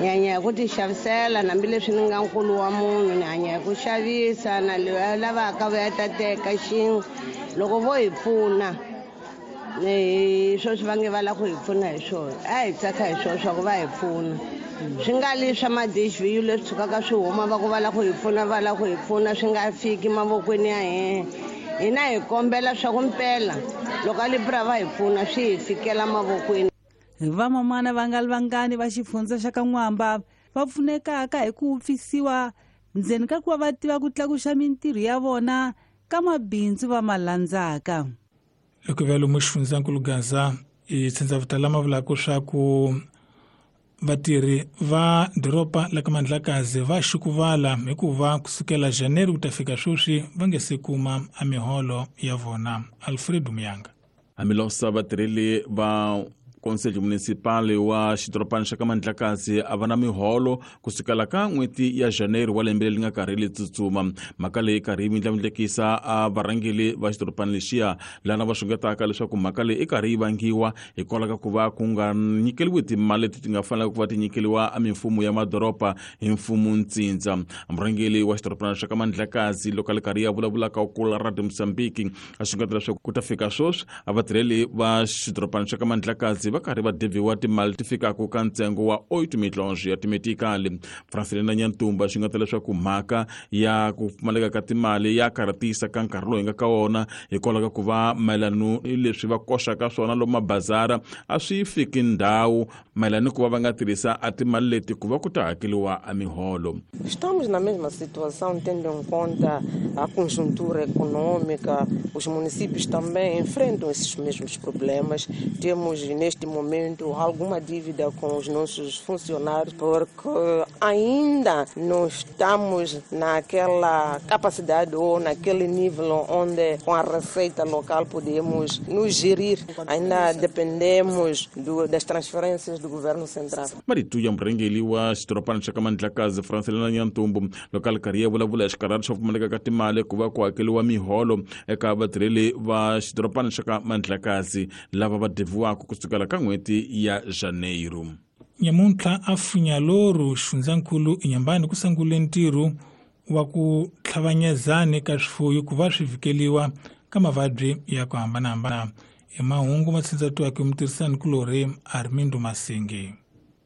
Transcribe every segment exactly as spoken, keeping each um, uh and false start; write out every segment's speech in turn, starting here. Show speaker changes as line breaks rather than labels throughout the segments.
Ni hanya hi ku ti xavisela hambileswi ni nga nkulu wa munhu, ni hanya hi ku xavisa na loyi a lavaka va ya ta teka xin'we. Loko vo hi pfuna hi sweswi va nge va lava ku hi pfuna hi swona, a hi tsaka hi swona swa ku va hi pfuna. Swi nga li swa ma-D H V U leswi tshukaka swi huma va ku va lava ku hi pfuna, va lava ku hi pfuna, swi nga fiki mavokweni ya hina. Hina hi kombela swa ku mpela loko a Lipra va hi pfuna swi hi fikela mavokweni.
Vamamana va nga ri vangani va xifundza xa ka N'wamba va pfunekaka hi ku wupfisiwa ndzeni ka ku va va tiva ku tlakuxa mintirho ya vona ka mabindzu va ma landzaka.
Loko va lomu xifundzankulu Gaza i tshindzavutala ma vulaka swa ku vatirhi va doroba la ka Mandlakazi va xukuvala hikuva kusukela January ku ta fika sweswi va nge se kuma a miholo ya vona. Alfredo Muyanga.
Hambilosa vatirheli va conselho municipal wa xidorobana xa ka Mandlakazi a va na miholo kusukela ka n'hweti ya Janeiro wa lembe leri nga karhi li tsutsuma. Mhaka leyi karhi yi mindlamindlekisa a varhangeli va xidorobana lexiya, lana va xungetaka leswaku mhaka leyi i karhi yi vangiwa hikwalaho ka ku va ku nga nyikeliwi timali leti ti nga fanelaka ku va ti nyikeliwa a mimfumo ya madoroba hi mfumo ntsindza. Murhangeli wa xidorobana xa ka Mandlakazi loko a li karhi ya vulavulaka kula Radio Mozambique a xungeta leswaku ku ta fika sweswi a vatirheli va xidorobana xa ka Mandlakazi va karhi va deviwa timali ti fikaka ka ntsengo wa oito milhões ya timetikali. Francelina Nyantumba xi nga ta leswaku mhaka ya ku pfumaleka ka timali ya karhatisa ka nkarhi lowu hi nga ka wona, hikwalaho ka ku va mayelano ni leswi va koxaka swona lomu mabazara a swi fiki ndhawu mayelana ni ku va va nga tirhisa a timali leti ku va ku ta hakeliwa a miholo.
Estamos na mesma situação, tendo em conta a conjuntura econômica, os municípios também enfrentam esses mesmos problemas. Temos, neste momento, alguma dívida com os nossos funcionários, porque ainda não estamos naquela capacidade ou naquele nível onde, com a receita local, podemos nos gerir. Ainda dependemos do, das transferências do governo central.
Marito ya murhangeli wa xidorobana xa ka Mandlakazi Francelina Nyantumbu loko a li karhi ya vulavula hi xikarhati xo pfumaleka ka timali ku va ku hakeliwa miholo eka vatirheli va xidorobana xa ka Mandlakazi lava va deviwaka kusukela ka n'hweti ya Janeiro.
Nyamuntlha a Funyaloru xifundzankulu Inyambani ku sungule ntirho wa ku tlhavanyezani ka swifuyo ku va swi vhikeliwa ka mavabyi ya ku hambanahambana. I mahungu ma tsindzatiwaka hi mutirhisani kulorhi Armindo Masingi.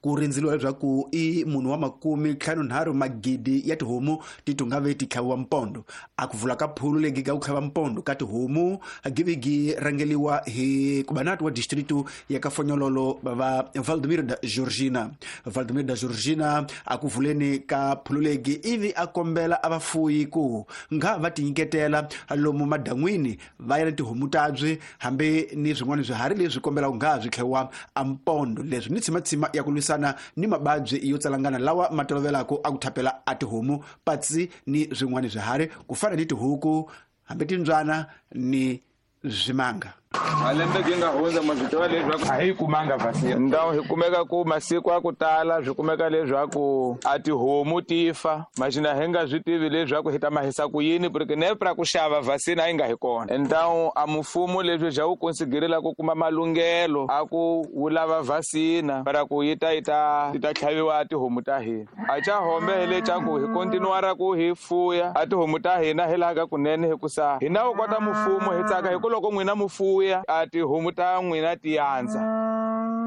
Ku rindzeliwa leswaku i munhu wa makume ntlhanu nharhu magidi ya tihomu ti tungave ti tlhaviwa mpondo. A ku vula ka phulu legi ka ku tlhava mpondo ka tihomu givigi rangeliwa hi kubanati wa distritu ya ka Fonyololo va Valdemiro da Georgina. Valdemiro da Georgina a ku vuleni ka phulu legi ivi a kombela a vafuyi ku nga va tinyiketela lomu madan'wini va ya na tihomu tabyi hambi ni swin'wana swiharhi leswi kombelaka nga swi tlhaviwa a mpondo, leswi ni tshimatsima ya ku lwisana ni mababyi yo tsalangana lawa ma tolovelaka a ku thapela a tihomu patsi ni swin'wana swiharhi ku fana ni tihuku hambi timbyana ni swimanga.
Malembe gi nga hundza ma swi tiva leswaku a hi kumanga vaccine. Ndhawu hi kumeka ku masiku ya ku tala swi kumeka leswaku a tihomu ti fa, maxina hi nga swi tivi leswaku hi ta mahisa ku yini, porque nepra ku xava vaccine a yi nga hi kona. Ndhawu a mfumo leswi xa wu konsiderela ku kuma malunghelo a ku wu lava vaccine para ku yi ta yi ta yi ta tlhaviwa tihomu ta hina. A xa hombe hi le xa ku hi kontinuara ku hi fuya a tihomu ta hina hi laha ka kunene, hikusa hina wu kota mfumo hi tsaka hi ku loko n'wina mufuya a tihomu ta n'wina ti yandza,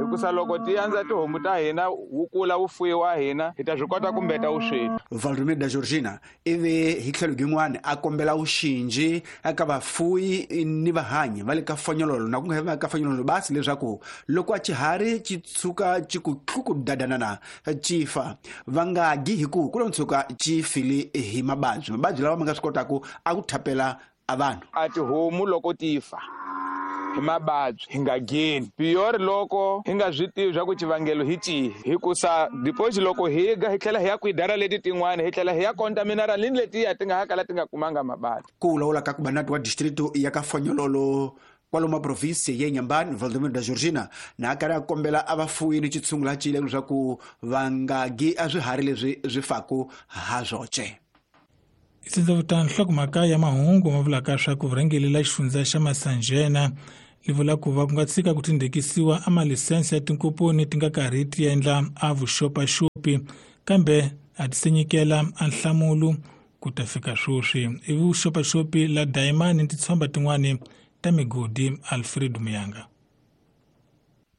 hikusa loko ti yandza tihomu ta hina wu kula wu fuyiwa hina hi ta swi kota ku mbeta vusweti.
Valdemir da Georgina ivi hi tlhelo rin'wana a kombela vuxinji eka vafuyi ni vahanyi va le ka Fonyololo na ku nga va ka Fonyololo basi leswaku loko a xiharhi xi tshuka xi ku tluku dadanana xi fa va nga gi hi ku ku lo tshuka xi file hi mababyi mababyi lawa ma nga swi kotaka a ku thapela a vanhu.
A tihomu loko ti fa hi mababyi hi nga geni piyori loko hi nga swi tivi swa ku xivangelo hi cihi, hikusa deposit loko hi ga hi tlhela hi ya ku hi dara leti tin'wana hi tlhela hi ya contaminara ni letiya ti nga ha kala ti nga kumanga mababyi.
Ku lawula ka kubanati wa distrito ya ka Fonyololo kwalomu province ya Inhambane Valdemir da Georgina na karhi a kombela a vafuyi ni xitshungu la cile leswaku va nga gi a swiharhi leswi swi faku ha swoxe.
Isindza nhlokomhaka ya mahungu ma vulaka swa ku vurhangeri la xifundza xa Masanjena li vula ku va ku nga tshika ku tindhekisiwa a malisense ya tinkomponi ti nga karhi ti endla a vuxopaxopi. Kambe a ti se nyikela a nhlamulo ku ta fika sweswi. I vuxopaxopi la dayimani titshomba tin'wani ta migodi. Alfred Muyanga.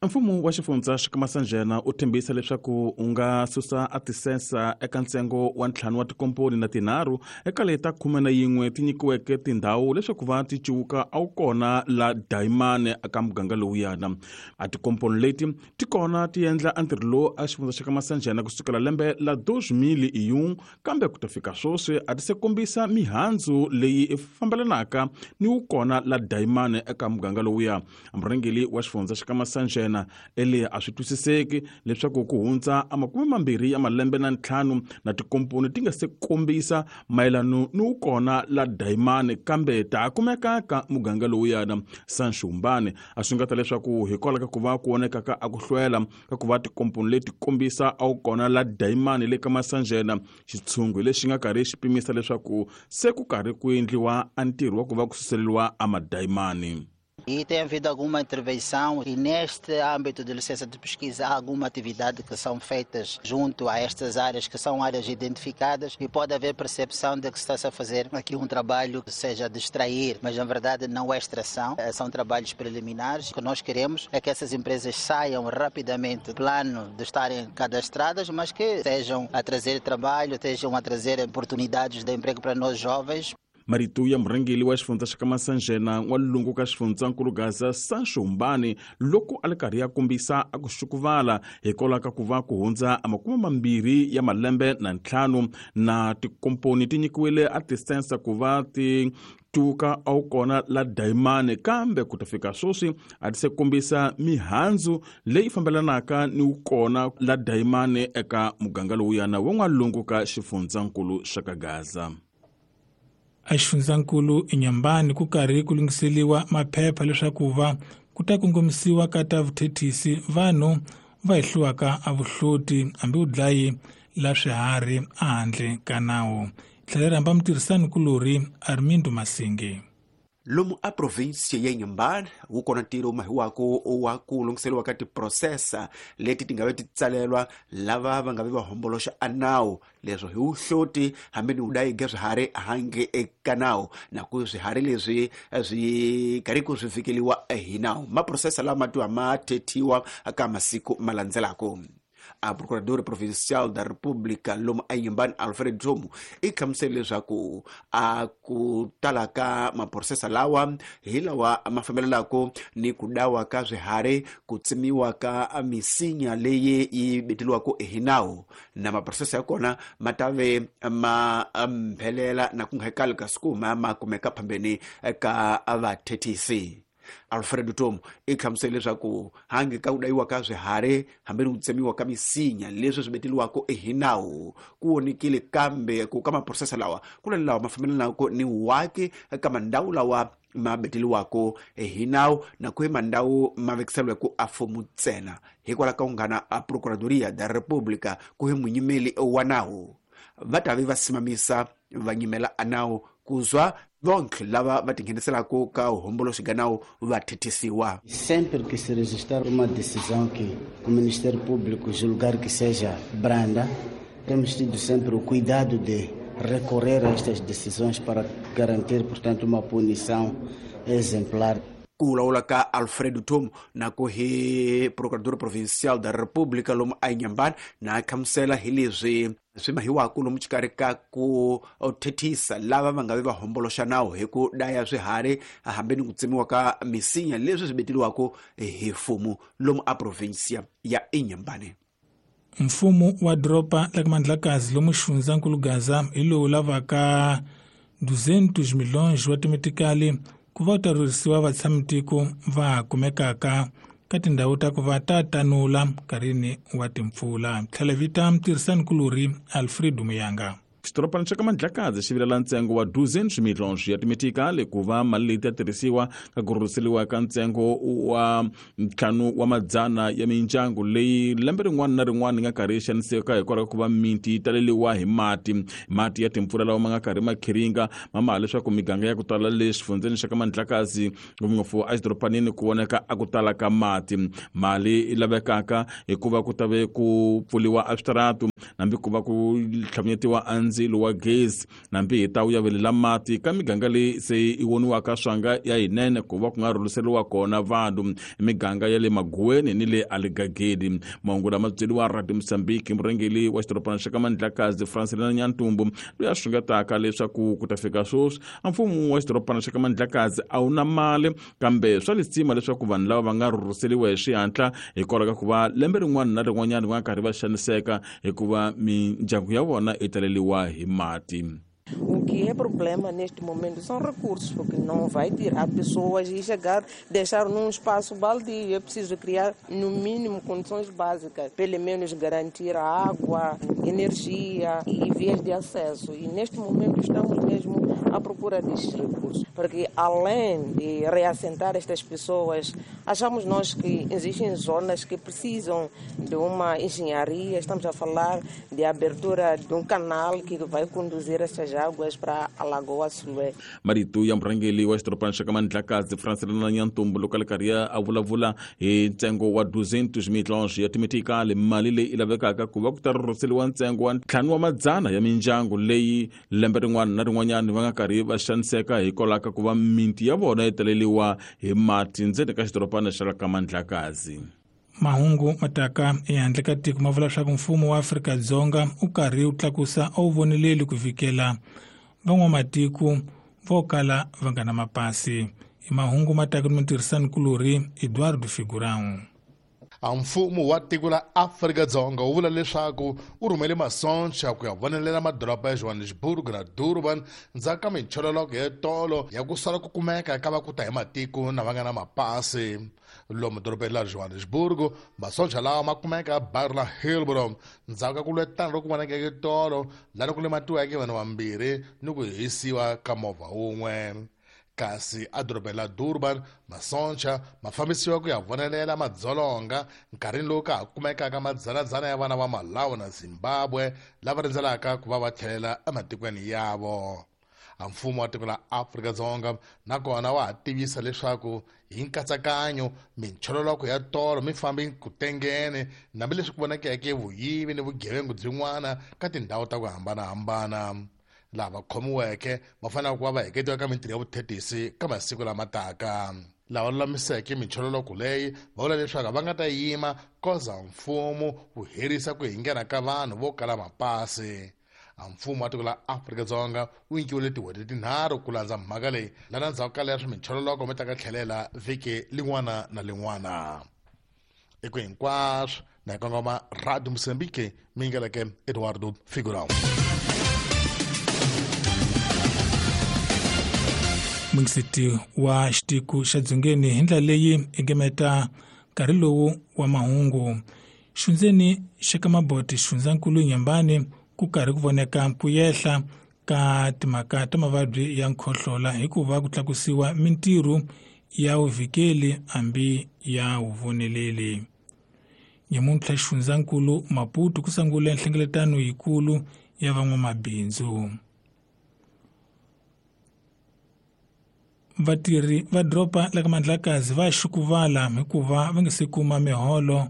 Mfumo wa xifundza xa Masanjena u tshembisa leswaku u nga susa a tisensa eka ntsengo wa ntlhanu wa tikomponi na tinharhu eka leti ta khume na yin'we ti nyikiweke tindhawu leswaku va ti cuwuka a wu kona la dayimani eka muganga lowuyana. A tikomponi leti ti kona ti endla a ntirho lowu a xifundza xa ka Masanjena kusukela lembe la dos mil e um, kambe ku ta fika sweswi a ti se kombisa mihandzu leyi fambelanaka ni wu kona la dayimani eka muganga lowuya. Murhangeri wa xifundza xa ka Masanjena ele a swi twisiseki leswaku ku hundza a makume mambirhi ya malembe na ntlhanu na tikomponi ti nga se kombisa mayelano ni wu kona la dayimani, kambe ta kumeka ka muganga lowuyana. Sanxumbani a swi nga ta leswaku hikwalaho ka ku va ku voneka a ku hlwela ka ku va tikomponi leti kombisa a wu kona la dayimani le ka Masanjena, xitshungu lexi nga karhi xi pimisa leswaku se ku karhi ku endliwa a ntirho wa ku va ku suseleriwa a madayimani.
E tem havido alguma intervenção e neste âmbito de licença de pesquisa há alguma atividade que são feitas junto a estas áreas, que são áreas identificadas, e pode haver percepção de que está-se a fazer aqui um trabalho que seja de extrair, mas na verdade não é extração, são trabalhos preliminares. O que nós queremos é que essas empresas saiam rapidamente do plano de estarem cadastradas, mas que estejam a trazer trabalho, estejam a trazer oportunidades de emprego para nós jovens.
Marito ya murhangeri wa xifundza xa ka Masanjena n'walungu ka xifundzankulu Gaza Sanxumbani loko a li karhi ya kombisa a ku xukuvala hikwalaho ka ku va ku hundza a makume mambirhi ya malembe na ntlhanu na tikomponi ti nyikiwile a tisensa ku va ti tuka a wu kona la dayimani, kambe ku ta fika sweswi a ti se kombisa mihandzu leyi fambelanaka ni wu kona la dayimani eka muganga lowuyana wa n'walungu ka xifundzankulu xa ka Gaza.
A xifundzankulu eNyambani ku karhi ku lunghiseriwa maphepha leswaku va ku ta kongomisiwa ka ta vuthethisi vanhu va hehliwaka a vuhloti hambi vudlayi la swiharhi ehandle ka nawu. Tlhela rhamba mutirhisani kulorhi Armindo Masinge.
Lomu a província ya Inhambane wu kona ntirho wu mahiwako wa ku lunghiseriwa ka tiprosesa leti ti nga ve ti tsalelwa lava va nga ve va homboloxa a nawu, leswo hi wuhloti hambi ni wudayiga swiharhi hange eka nawu, na ku swiharhi leswi swi karhi ku swi fikeliwa hi nawu. Maprosesa lama tiwa ma thethiwa ka masiku ma landzelako. A Procurador Provincial da República lomu a Inhambane Alfred Jomo i hlamusele leswaku a ku tala ka maprosesa lawa hi lawa ma fambelelako ni ku dawa ka swiharhi, ku tsemiwa ka misinya leyi yi beteliwaka hi nawu, na maprosesa ya kona ma ta ve ma mphelela na ku nga hekali ka siku ma ma kumeka phambeni ka vathethisi. Alfredo Tom i hlamusele leswaku hange ka ku dayiwa ka swiharhi hambi ni ku tsemiwa ka misinya leswi swi beteliwaka hi nawu ku vonekile, kambe ku ka maprosesa lawa ku na lawa ma fambelanaka ni waki ka mandhawu lawa ma beteliwaka hi nawu na ku hi mandhawu ma vekiseliweke a fomo ntsena. Hikwalaho ka ku nghana a Procuradoria da República ku hi munyimeli wa nawu va ta ve va simamisa va nyimela a nawu kuzwa bonke lava va tingheniselaka ka homboloxi ga nawu va thethisiwa.
Sempre que se registrar uma decisão que o Ministério Público julgar que seja branda, temos tido sempre o cuidado de recorrer a estas decisões para garantir, portanto, uma punição exemplar.
Ku vulavula ka Alfredo Tom na ku hi Procurador Provincial da República lomu a Inhambane na hlamusela hi leswi swi mahiwaka lomu xikarhi ka ku thethisa lava va nga ve va homboloxa nawu hi ku daya swiharhi hambi ni ku tsemiwa ka misinya leswi swi beteliwaka hi mfumo lomu a provincia ya Inhambane.
Mfumo wa doroba la Mandlakazi lomu xifundzankulu Gaza hi lowu lavaka duzentos milhões wa timetikali ku va ta rhurhisiwa vatshamitiko va kumekaka ka tindhawu ta ku va ta tanula nkarhini wa timpfula. Tlhela vita mutirhisani kulorhi Alfredo Muyanga.
Xidorobana xa ka Mandlakazi xi vilela ntsengo wa duzentos milhões ya timetikali ku va mali leyi ta tirhisiwa ka ku rhurhiseriwa ka ntsengo wa ntlhanu wa madzana ya mindyangu leyi lembe rin'wana na rin'wana yi nga karhi yi xaniseka hikwalaho ka ku va miti yi taleriwa hi mati mati ya timpfula lawa ma nga karhi ma khiringa ma maha leswaku miganga ya ku tala le xifundzeni xa ka Mandlakazi ngopfungopfu exidorobanini ku voneka a ku tala ka mati. Mali yi lavekaka hikuva ku ta ve ku pfuriwa a switaratu nambi ku va ku tlhavunyetiwa a ndzilo wa gezi nambi hi ta wu yavelela mati ka miganga leyi se yi voniwaka swanga ya yinene ku va ku nga rhurhiseriwa kona vanhu miganga ya le Maguweni ni le Aligagedi. Mahungu lama byeriwa Radio Mozambique murhangeri wa xidorobana xa ka Mandlakazi Francelina Nyantumbu loyi a xungetaka leswaku ku ta fika sweswi a mfumo wa xidorobana xa ka Mandlakazi a wu na mali kambe swa lisima leswaku vanhu lava va nga rhurhiseriwa hi xihatla hikwalaho ka ku va lembe rin'wana na rin'wanyana va nga karhi va xaniseka hikuva mindyangu ya vona yi taleriwa hi mati.
O que é problema neste momento são recursos, porque não vai tirar pessoas e chegar, deixar num espaço baldio. É preciso criar, no mínimo, condições básicas, pelo menos garantir a água, energia e vias de acesso. E neste momento estamos mesmo à procura destes recursos, porque além de reassentar estas pessoas, achamos nós que existem zonas que precisam de uma engenharia. Estamos a falar de abertura de um canal que vai conduzir estas águas para a Lagoa Sulé.
Marito ya murhangeri wa xidorobana xa ka Mandlakazi Francelina Nyantumbu loko a ri karhi a vulavula hi ntsengo wa duzentos milhões ya timetikali mali leyi lavekaka ku va ku ta rhurhiseriwa ntsengo wa ntlhanu wa madzana ya mindyangu leyi lembe rin'wana na rin'wanyana va nga karhi va xaniseka hikwalaho ka ku va miti ya vona yi taleriwa hi mati ndzeni ka xidorobana xa ka Mandlakazi.
Mahungu mataka ehandle ka tiko ma vula leswaku mfumo wa Afrika-Dzonga wu karhi wu tlakusa a wu voneleli ku fikela van'wamatiko vo kala va nga na mapasi. I mahungu mataka ni mutirhisanikulorhi Eduardo Figurão.
A mfumo wa tiko la Afrika-Dzonga wu vula leswaku wu rhumele masocha ku ya vonelela madoroba ya Johannesburg na Durban ndzhaku ka minchololoko ya tolo ya ku sala ku kumeka ka va ku ta hi matiko na va nga na mapasi. Lomu dorobeni la Johannesburg masocha lawa ma kumeka baru la Hillbrow ndzhaku ka ku lwetana loku vonakeke tolo laha ku lematiweke vanhu vambirhi ni ku hisiwa ka movha wun'we. Kasi edorobeni la Durban masocha ma fambisiwa ku ya vonelela madzolonga nkarhini lowu ka ha kumekaka madzanadzana ya vana va Malawi na Zimbabwe lava rindzelaka ku va va tlhelela ematikweni yavo. A mfumo wa tiko la Afrika-Dzonga nakona wa ha tivisa leswaku hi nkatsakanyo minchololoko ya tolo mi fambi ku tengene hambileswi ku vonakeke vuyivi ni vugevengu byin'wana ka tindhawu ta ku hambanahambana. Lava khomiweke va fanele ku va va heketiwa ka mintirho ya vuthetisi ka masiku lama taka. Lava lulamiseke minchololoko leyi va vula leswaku va nga ta yima koza mfumo wu herisa ku hingena ka vanhu vo kala mapasi. A mfumo wa tiko la Afrika-Dzonga wu nyikiwile tin'hweti tinharhu ku landza mhaka leyi lana ndzhaku ka leswi minchololoko mi ta ka tlhelela vhiki lin'wana na lin'wana. Eku hinkwaswo na kongoma Radio Mozambique mi ngeleke Eduardo Figurão.
Mungisiti wa xitiko xa Dzongeni hi ndlela leyi engemeta nkarhi lowu wa mahungu. Xundzeni xa ka Maboti xifundzankulu Nyambani ku karhi ku voneka ku yehla ka timhaka ta mavabyi ya nkhohlola hikuva ku tlakusiwa mintirho ya vuvikeli hambi ya vuvoneleli. Nyamuntlha xifundzankulu Maputo ku sungule nhlengeletano yikulu ya van'wamabindzu. Vatirhi va doroba la ka Mandlakazi va xukuvala hikuva va nga se kuma miholo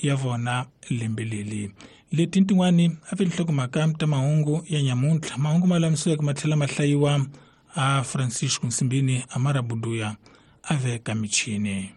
ya vona lembe leri. Leti tin'wani a vi nhlokomhaka ta mahungu ya nyamuntlha. Mahungu ma lamisiweke ma tlhela ma hlayiwa a Francisco Nsimbini Amara Buduya a veka michini.